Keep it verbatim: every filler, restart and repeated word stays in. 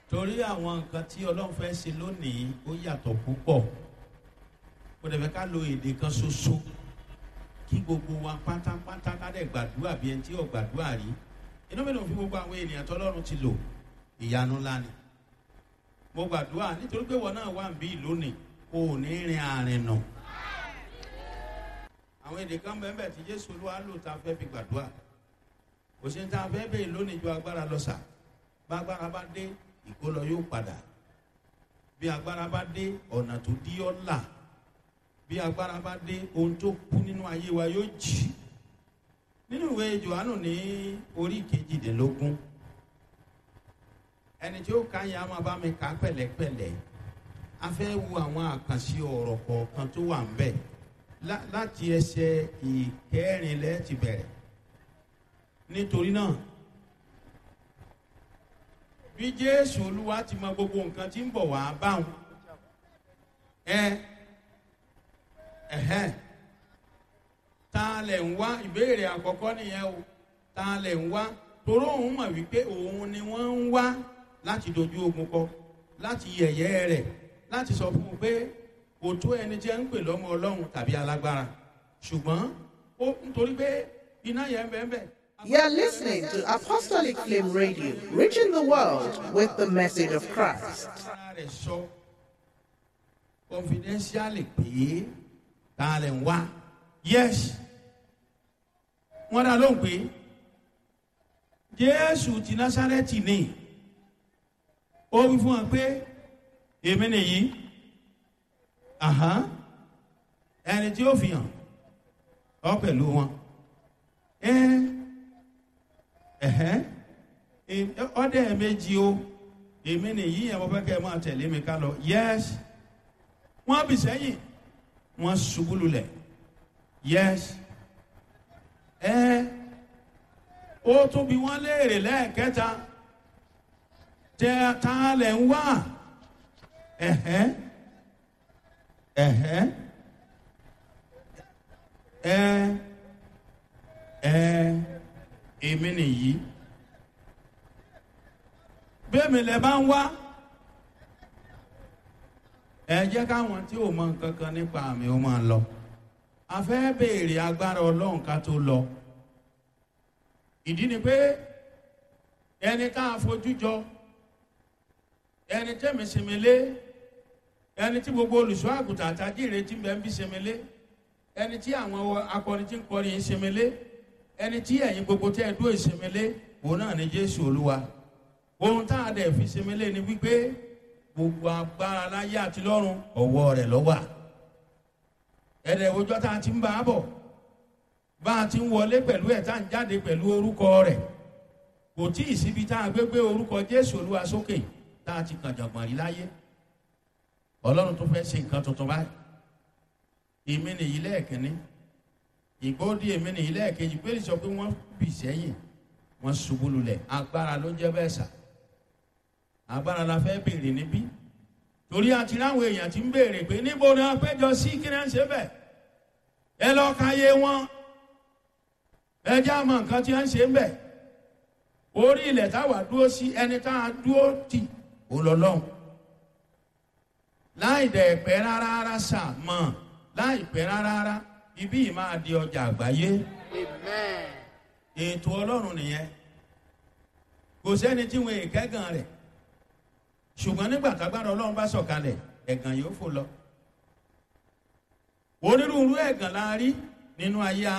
Torí àwọn nǹkan tí Ọlọ́run fẹ́ ṣe lónìí, ó yàtọ̀ púpọ̀. Kò dẹ̀ fẹ́ ká lo èdè kan ṣoṣo kí gbogbo wa pátápátá ká dẹ̀ gbàdúrà bí ẹni tí ò gbàdúrà rí. Inú mi dùn fún gbogbo àwọn ènìyàn tọ́lọ́run ti lò. Ìyanu ńlá ni. Mo gbàdúrà nítorí pé wọn náà wà ń bí lónìí, kò ní rin àrìn nà. Àwọn èdè kan bẹ́ẹ̀ tí Jésù Olúwa lò tá a fẹ́ fi gbàdúrà. Kò sí ní tá a fẹ́ bèè lónìí ju agbára lọ sà. Bá agbára bá dé, ìkólọ yóò padà. Bí agbára bá dé, ọ̀nà tó dí ọ́ là. Bí agbára bá dé, ohun tó kú nínú ayé wa yóò jì. Nínú ìwé Jòhánù ní orí kejìdínlógún, ẹni tí ó ka yẹn a máa bá mi kà á pẹ̀lẹ́pẹ̀lẹ́. A fẹ́ wo àwọn àkànṣe ọ̀rọ̀ kọ̀ọ̀kan tó wà ń bẹ̀ láti ẹsẹ̀ ìkẹrin lẹ́ẹ̀ ti bẹ̀rẹ̀. Nítorí náà, bí Jésù Olúwa ti mọ gbogbo nǹkan tí ń bọ̀ wá báwọn, ẹ ẹhẹn, ta lẹ̀ ń wá? Ìbéèrè àkọ́kọ́ nìyẹn o. Ta lẹ̀ ń wá? Toró òun mọ̀ wípé òun ni wọ́n ń wá láti dojú ogun kọ, láti yẹ̀yẹ́ rẹ̀, láti sọ fún un pé kò tó ẹni tí ẹ ń pè lọ́mọ Ọlọ́run tàbí alágbára. Ṣùgbọ́n ó nítorí pé iná yẹn bẹ́ẹ̀ bẹ́ẹ̀. You're listening to Apostolic Flame Radio, reaching the world with the message of Christ. Ara rẹ̀ sọ confidentially pé ta lẹ̀ ń wá. Yes, wọ́n dá lóhùn pé Jésù ti Násárẹ́tì ni. Ó wí fún wọn pé èmi nìyí, ẹni tí ó fi hàn ọ pẹ̀lú wọn. Ọdẹ méjì o, èmi nìyí yẹn, mo fẹ́ kẹ́ ẹ máa tẹ̀lé mi ká lọ. Yes, wọ́n bì sẹ́yìn, wọ́n ṣubú lulẹ̀. Yes, ẹ ó tún bí wọ́n léèrè lẹ́ẹ̀kẹta, tẹ ta lẹ̀ ń wá? Ẹ̀hẹ́, ẹ̀hẹ́, ẹ ẹ èmi nìyí. Bẹ́ẹ̀mi lẹ bá ń wá, ẹ jẹ́ káwọn tí ò mọ nǹkan kan nípa àmì ó máa lọ. A fẹ́ béèrè agbára Ọlọ́run ká tó lọ. Ìdí ni pé ẹni tá a fojú jọ, ẹni tẹ́mi sinmi lé, ẹni tí gbogbo olùṣọ́ àgùntàn àtàjìrè tí ń bẹ ń bí sinmi lé, ẹni tí àwọn akọrin tí ń kọrin yìí sinmi lé, ẹni tí ẹ̀yin gbogbo tẹ́ ẹ dúró ìsinmi lé, òun náà ni Jésù Olúwa. Ohun tá a dẹ̀ fi sinmi lé ni wípé gbogbo agbára láyé àti lọ́run, ọ̀wọ́ rẹ̀ ló wà. Ẹ̀rẹ̀ òjò tá a ti ń bá a bọ̀, bá a ti ń wọlé pẹ̀lú ẹ̀, tá a ń jáde pẹ̀lú orúkọ rẹ̀. Kò tí ì síbi tá a gbé gbé orúkọ Jésù Olúwa sókè tá a ti kàn jọ̀gbọ̀n rí láyé. Ọlọ́run tó fẹ́ ṣe nǹkan tuntun báyìí. Èmi nìyí lẹ́ẹ̀kínní, ìgbóòdì èmi nìyí lẹ́ẹ̀kejì. Pé sọ pé wọ́n bì sẹ́yìn, wọ́n ṣubú lulẹ̀. Agbára ló jẹ́ bẹ́ẹ̀ sà. Agbára la fẹ́ béèrè níbí, torí àti ráwọn èèyàn ti ń béèrè pé níbo ni wọ́n péjọ sí, kí ni wọ́n ṣe bẹ̀. Ẹ lọ ka yé wọn, ẹ jẹ́ àmọ́ nǹkan tí wọ́n ṣe ń bẹ̀. Orí ilẹ̀ táwa dúró sí, ẹni tá a dúró tì ó lọ lọ́hùn. Láì dẹ̀ pẹ́ rárá rárá sà mọ̀, láì pẹ́ rárá rárá, ibí yìí máa di ọjà àgbáyé. Ètò Ọlọ́run nìyẹn. Kò sẹ́ni tí wọn èkẹ́gàn rẹ̀, ṣùgbọ́n nígbà tágbára Ọlọ́run bá sọ̀kalẹ̀, ẹ̀gàn yóò fò lọ. Onírúurú ẹ̀gàn la rí nínú ayé.